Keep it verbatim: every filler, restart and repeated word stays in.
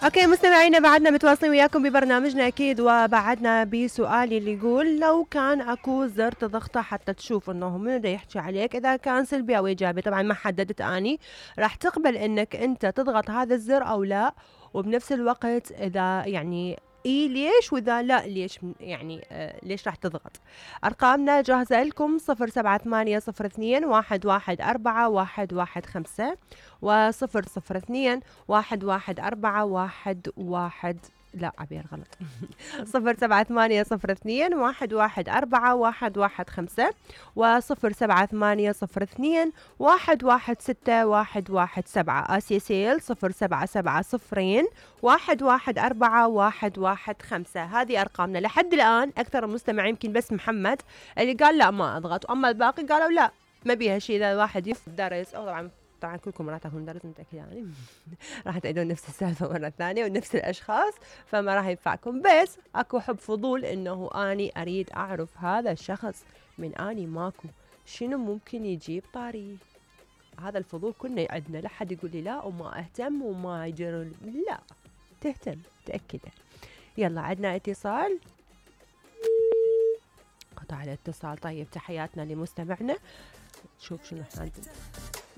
اوكي مستمعينا، بعدنا متواصلين وياكم ببرنامجنا اكيد، وبعدنا بسؤالي اللي يقول لو كان اكو زر تضغطه حتى تشوف انه منو دا يحكي عليك، اذا كان سلبي او ايجابي. طبعا ما حددت اني راح تقبل انك انت تضغط هذا الزر او لا، وبنفس الوقت اذا يعني اي ليش، واذا لا ليش، يعني آه ليش راح تضغط. ارقامنا جاهزة لكم صفر سبعة ثمانية صفر اثنين واحد واحد اربعة واحد واحد خمسة وصفر صفر اثنين واحد واحد اربعة واحد واحد، لا عبير غلط صفر سبعة ثمانية صفر اثنين واحد واحد اربعة واحد واحد خمسة وصفر سبعة ثمانية صفر اثنين واحد واحد ستة واحد واحد سبعة. اسيا سيل صفر سبعة سبعة صفرين واحد واحد اربعة واحد واحد خمسة. هذه ارقامنا لحد الان. اكثر المستمعين يمكن بس محمد اللي قال لا ما اضغط، اما الباقي قالوا لا ما بيها شيء، اذا الواحد يدرس او طبعا طبعا كلكم راح تاخذون درس متأكد يعني راح تعيدون نفس السالفة مرة ثانية ونفس الأشخاص، فما راح ينفعكم. بس أكو حب فضول إنه أني أريد أعرف هذا الشخص من أني ماكو شنو ممكن يجيب طاري. هذا الفضول كنا عندنا، لا حد يقول لي لا وما أهتم وما يجر، لا تهتم تأكده. يلا عندنا اتصال، قطع الاتصال. طيب تحياتنا لمستمعنا، شوف شنو عندنا.